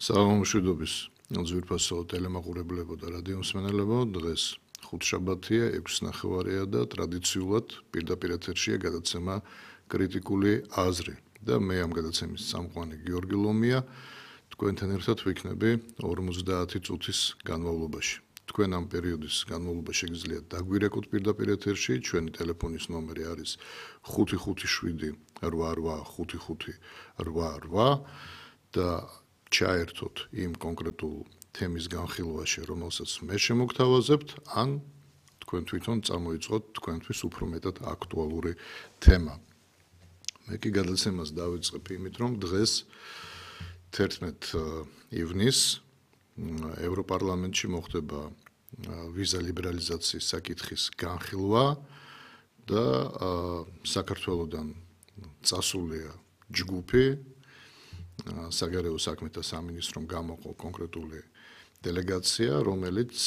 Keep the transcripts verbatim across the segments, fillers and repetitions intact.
საღამოშვიდობის ძვირფასო ტელემაყურებლებო და რადიომსმენელებო, დღეს ხუთშაბათია, ექვსი ნახევარია და ტრადიციულად პირდაპირ ეთერშია გადაცემა კრიტიკული აზრი და მე ამ გადაცემის წამყვანი გიორგი ლომია, თქვენთან ერთად ვიქნები ორმოცდაათი წუთის განმავლობაში. თქვენ ამ პერიოდის განმავლობაში შეგიძლიათ დაგვირეკოთ პირდაპირ ეთერში, ჩვენი ტელეფონის ნომერი არის ხუთი ხუთი შვიდი რვა რვა ხუთი ხუთი რვა რვა და ჩაერთოთ იმ კონკრეტულ თემის განხილვაში, რომელსაც მე შემოგთავაზებთ, ან თქვენ თვითონ წამოიწყოთ თქვენთვის უფრო მეტად აქტუალური თემა. მე კი გადაცემას დავიწყებ იმით, რომ დღეს თერთმეტ ივნისს ევროპარლამენტში მოხდება ვიზა ლიბერალიზაციის საკითხის განხილვა და საქართველოდან წასულია ჯგუფი საგარეო საქმეთა სამინისტრომ გამოყო კონკრეტული დელეგაცია, რომელიც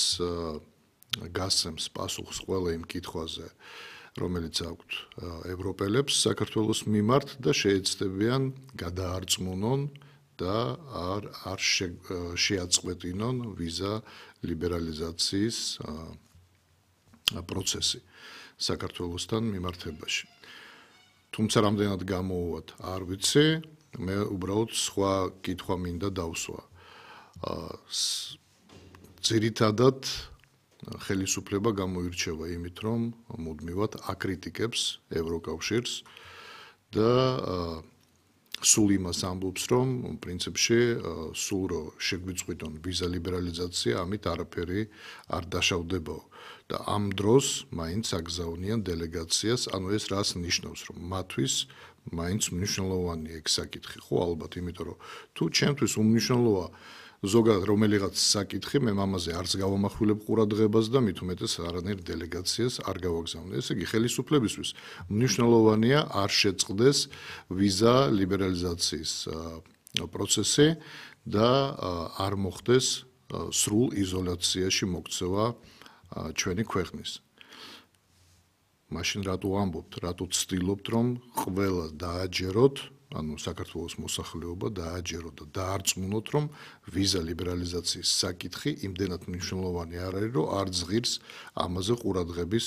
გასცემს პასუხს ყველა იმ კითხვაზე, რომელიც აქვთ ევროპელებს საქართველოს მიმართ და შეეცდებიან გადაარწმუნონ და არ არ შეაწყვეტინონ ვიზა ლიბერალიზაციის პროცესი საქართველოსთან მიმართებაში. თუმცა რამდენად გამოუვათ, არ ვიცი, მე უბრალოდ სხვა კითხვა მინდა დავსვა. ძირითადად ხელისუფლება გამოირჩევა იმით, რომ მუდმივად აკრიტიკებს ევროკავშირს და სულ იმას ამბობს, რომ პრინციპში სულ რო შეგვიწყვიტონ ვიზა ლიბერალიზაცია, ამით არაფერი არ დაშავდებაო. და ამ დროს მაინც აგზავნიან დელეგაციას, ანუ ეს რას ნიშნავს, რომ მათთვის მაინც მნიშვნელოვანია ეგ საკითხი, ხო ალბათ, იმიტომ რომ თუ ჩემთვის უმნიშვნელოა ზოგადად რომელიღაც საკითხი, მე ამაზე არც გავამახვილებ ყურადღებას და მით უმეტეს არანაირ დელეგაციას არ გავაგზავნე. ესე იგი, ხელისუფლებისთვის მნიშვნელოვანია არ შეწყდეს ვიზა ლიბერალიზაციის პროცესი და არ მოხდეს სრულ იზოლაციაში მოქცევა ჩვენი ქვეყნის. მაშინ რატო ამბობთ, რატო ცდილობთ, რომ ყველა დააჯეროთ, ანუ საქართველოს მოსახლეობა დააჯეროთ და დაარწმუნოთ, რომ ვიზა ლიბერალიზაციის საკითხი იმდენად მნიშვნელოვანი არ არის, რომ არ ზღირს ამაზე ყურადღების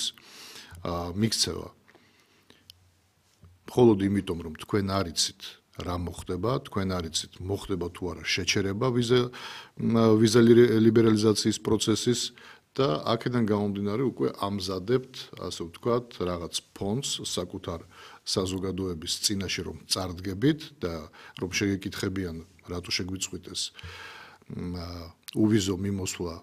მიქცევა. მხოლოდ იმიტომ, რომ თქვენ არიცით რა მოხდება, თქვენ არიცით მოხდება თუ არა შეჩერება ვიზა ვიზა ლიბერალიზაციის პროცესის და აქედან გამომდინარე უკვე ამზადებთ, ასე ვთქვათ, რაღაც ფონდს საკუთარ საზოგადოების წინაშე რომ წარდგებით და რომ შეგეკითხებიან, რატო შეგვიწყვიტეს უვიზო მიმოსვლა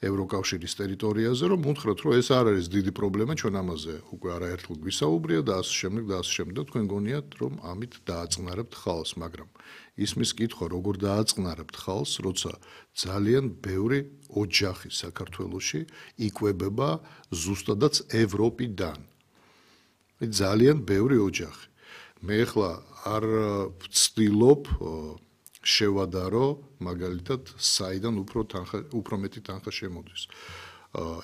ევროკავშირის ტერიტორიაზე, რომ უთხრათ, რომ ეს არ არის დიდი პრობლემა, ჩვენ ამაზე უკვე არაერთხელ გვისაუბრია და ასე შემდეგ და ასე შემდეგ, თქვენ გონიათ, რომ ამით დააწყნარებთ ხალხს, მაგრამ ისმის კითხვა, როგორ დააწყნარებთ ხალხს, როცა ძალიან ბევრი ოჯახი საქართველოში იკვებება ზუსტადაც ევროპიდან. ძალიან ბევრი ოჯახი. მე ახლა არ ვცდილობ შევადარო მაგალითად საიდან უფრო თანხა უფრო მეტი თანხა შემოდის.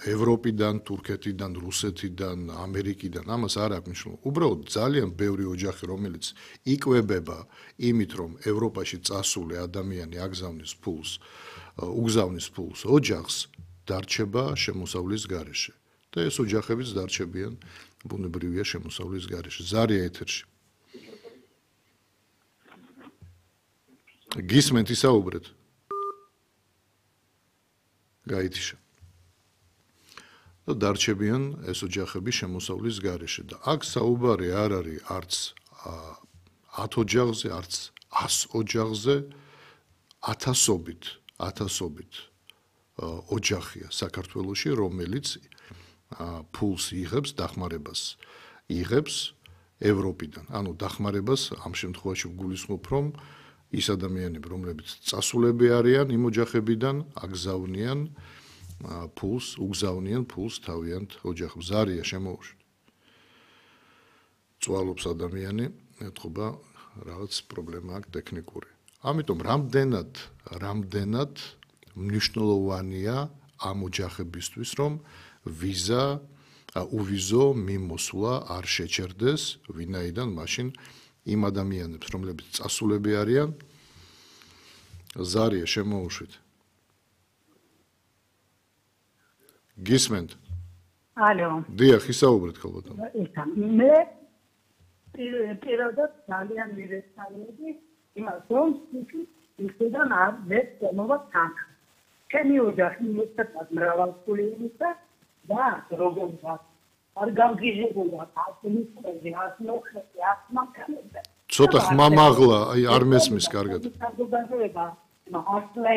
ევროპიდან, თურქეთიდან, რუსეთიდან, ამერიკიდან, ამას არ აქვს მნიშვნელობა. უბრალოდ ძალიან ბევრი ოჯახი, რომელიც იკვებება იმით, რომ ევროპაში წასული ადამიანი აგზავნის ფულს, უგზავნის ფულს ოჯახს, დარჩება შემოსავლის გარეშე. და ეს ოჯახებიც დარჩებიან ბუნებრივია შემოსავლის გარეშე. ზარია ეთერში. გისმენთ ისაუბრეთ. გაითიშა. და დარჩებიან ეს ოჯახები შემოსავლის გარეშე და აქ საუბარი არ არის არც ათ ოჯახზე, არც ას ოჯახზე, ათასობით, ათასობით ოჯახია საქართველოში, რომელიც ფულს იღებს, დახმარებას იღებს ევროპიდან. ანუ დახმარებას ამ შემთხვევაში ვგულისხმობ, რომ ის ადამიანები, რომლებიც წასულები არიან იმ ოჯახებიდან, აგზავნიან ფულს, უგზავნიან ფულს თავიანთ ოჯახებს. ზარია შემოუშვით. წვალობს ადამიანი, ეთყობა რაღაც პრობლემა აქვს ტექნიკური. ამიტომ რამდენად, რამდენად მნიშვნელოვანია ამ ოჯახებისთვის, რომ ვიზა უვიზო მიმოსვლა არ შეჩერდეს, ვინაიდან მაშინ იმ ადამიანებს, რომლებიც წასულები არიან, ზარია შემოუშვით. გისმენთ? ალო. დიახ, ისაუბრეთ ხალბატონო. მე პირადად ძალიან მივესალმები იმას, რომ ისედან არ მეცნობა თან. ჩემი ოჯახი მეტად მრავალწლიანია და როგორღაც არ გამგიჟებულა ასმის პრეზი, ასმოხეთი, ასმაკანები. ცოტა ხმამაღლა, აი არ მესმის კარგად. საზოგადოება, ახლა